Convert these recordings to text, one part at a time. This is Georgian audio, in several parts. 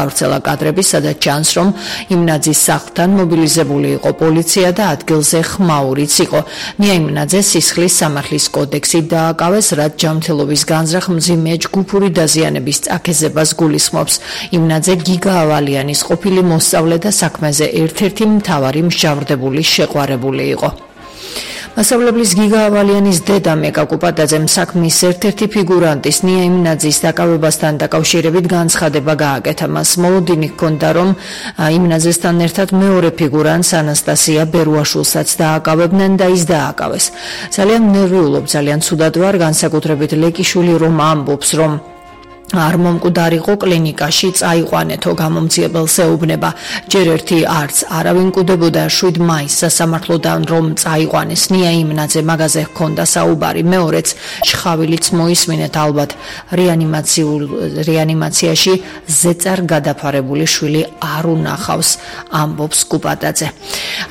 გავრცელა კადრები, სადაც ჩანს, რომ იმნაძის სახლთან მობილიზებული იყო პოლიცია და ადგილზე ხმაურიც იყო. ნია იმნაძე სისხლის სამართლის კოდექსით დააკავეს, რაც ჯანმრთელობის განზრახ მძიმე ჯგუფური დაზიანების წაქეზებას გულისხმობს. იმნაძე გიგა ავალიანის ყოფილი მოსწავლე და საქმეზე ერთ-ერთი მთავარი მსჯავრდებული შეყვარებული იყო. მასწავლებლის გიგა ავალიანის დედა მეკა კუპატაძემ საქმის ერთ-ერთი ფიგურანტის ნია იმნაძის დაკავებასთან დაკავშირებით განცხადება გააკეთა. მას მოლოდინი ჰქონდა, რომ იმნაძესთან ერთად მეორე ფიგურანტს ანასტასია ბერუაშვილსაც დააკავებდნენ და ის დააკავეს. ძალიან ნერვიულობ, ძალიან ცუდად ვარ, განსაკუთრებით ლეკიშვილი რომ ამბობს, რომ არ მომკვდარიყო კლინიკაში წაიყვანეთო, გამომძიებელს ეუბნება. ჯერ ერთი არც არავინ კვდებოდა, 7 მაისს სასამართლოდან რომ წაიყვანეს ნია იმნაძე მაგაზე ჰქონდა საუბარი. მეორეც შხავილიც მოისმინეთ, ალბათ რეანიმაციაში ზეწარ გადაფარებული შვილი არ უნახავს, ამბობს კუპატაძე.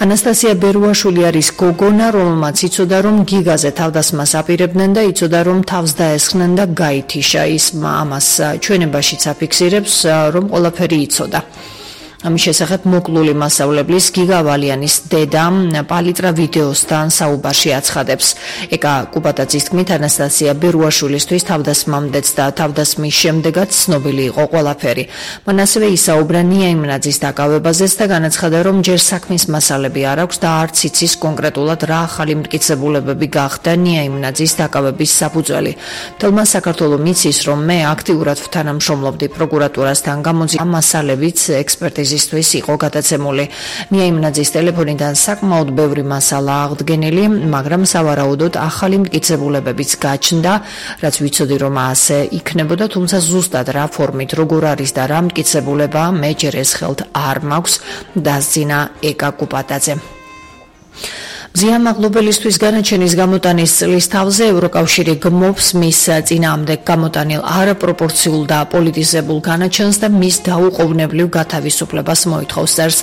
ანასტასია ბერუაშვილი არის გოგონა, რომელმაც იცოდა, რომ გიგაზე თავდასხმას აპირებდნენ და იცოდა, რომ თავს დაესხნენ და გაითიშა. ის ამას ჩვენებაშიც აფიქსირებს, რომ ყველაფერი იცოდა. ამის შესახებ მოკლული მასწავლებლის გიგა ავალიანის დედა პალიტრა ვიდეოსთან საუბარში აცხადებს. ეკა კუპატაძის თქმით, ანასტასია ბერუაშვილისთვის თავდასხმამდეც და თავდასხმის შემდეგაც ცნობილი იყო ყველაფერი. მან ასევე ისაუბრა ნია იმნაძის დაკავებაზეც და განაცხადა, რომ ჯერ საქმის მასალები არ აქვს და არც იცის კონკრეტულად რა ახალი მტკიცებულებები გახდა ნია იმნაძის დაკავების საფუძველი. მთელმა საქართველომ იცის, რომ მე აქტიურად ვთანამშრომლობდი პროკურატურასთან, გამოძიება მასალებიც ექსპერტიზის იყო გადაცემული. ნია იმნაძის ტელეფონიდან საკმაოდ ბევრი მასალა აღდგენილი, მაგრამ სავარაუდოდ ახალი მტკიცებულებებიც გაჩნდა, რაც ვიცოდი, რომ ასე იქნებოდა, თუმცა ზუსტად რა ფორმით, როგორ არის და რა მტკიცებულება მე ჯერ ეს ხელთ არ მაქვს, დასძინა ეკა კუპატაძემ. მზიამაღლობელისთვის განაჩენის გამოტანის წლის თავზე ევროკავშირი გმობს მის წინააღმდეგ გამოტანილ არაპროპორციულ და პოლიტიზებულ განაჩენს და მის დაუყოვნებლივ გათავისუფლებას მოითხოვს, წერს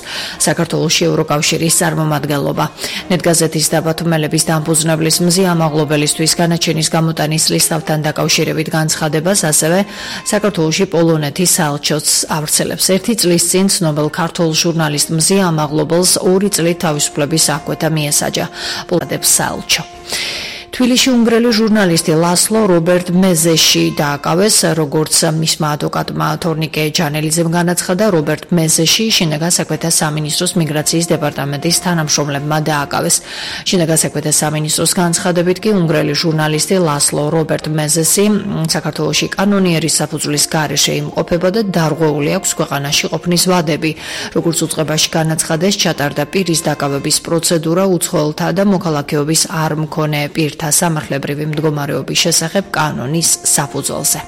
საქართველოში ევროკავშირის წარმომადგენლობა. ნეტგაზეთის დაბათუმელების დამფუძნებლის მზიამაღლობელისთვის განაჩენის გამოტანის წლის თავთან დაკავშირებით განცხადებას ასევე საქართველოში პოლონეთის საელჩოც ავრცელებს. ერთი წლის წინ ცნობილ ქართულ ჟურნალისტ მზიამაღლობელს 2 წლით თავისუფლების აღკვეთა მიესაჯა. პოლონეთის საელჩო. თბილისში უნგრელი ჟურნალისტი ლასლო რობერტ მეზეში დააკავეს, როგორც მისმა ადვოკატმა თორნიკე ჯანელიძემ განაცხადა, რობერტ მეზეში შინაგან საქმეთა სამინისტროს მიგრაციის დეპარტამენტის თანამშრომლებმა დააკავეს. შინაგან საქმეთა სამინისტროს განცხადებით კი უნგრელი ჟურნალისტი ლასლო რობერტ მეზესი საქართველოში კანონიერის საფუძვლის გარეშე იმყოფება და დარღვეული აქვს ქვეყანაში ყოფნის ვადები. როგორც უწყებაში განაცხადეს, ჩატარდა პირის დაკავების პროცედურა უცხოელთა და მოქალაქეობის არ მქონე პირთა სამართლებრივი მდგომარეობის შესახებ კანონის საფუძველზე.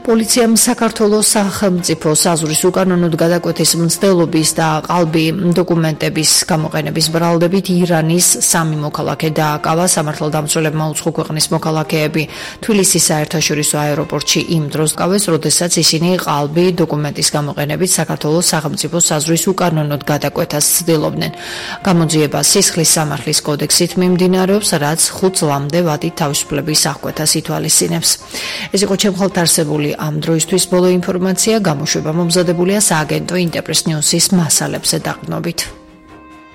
პოლიციამ საქართველოს სახელმწიფო საზღვრის უკანონოდ გადაკვეთის მცდელობის და ყალბი დოკუმენტების გამოყენების ბრალდებით ირანის 3 მოქალაქე დააკავა. სამართალდამცველებმა უცხო ქვეყნის მოქალაქეები თბილისის საერთაშორისო აეროპორტში იმ დროს გავეს, როდესაც ისინი ყალბი დოკუმენტის გამოყენებით საქართველოს სახელმწიფო საზღვრის უკანონოდ გადაკვეთას ცდილობდნენ. გამოძიება სისხლის სამართლის კოდექსით მიმდინარეობს, რაც 5 წლამდე ვადით თავისუფლების აღკვეთას ითვალისწინებს. ეს იყო ჩემ ხალთ არსებული ამ დროისთვის ბოლო ინფორმაცია. გამოშვება მომზადებულია სააგენტო ინტერპრეს ნიუსის მასალებზე დაყრდნობით.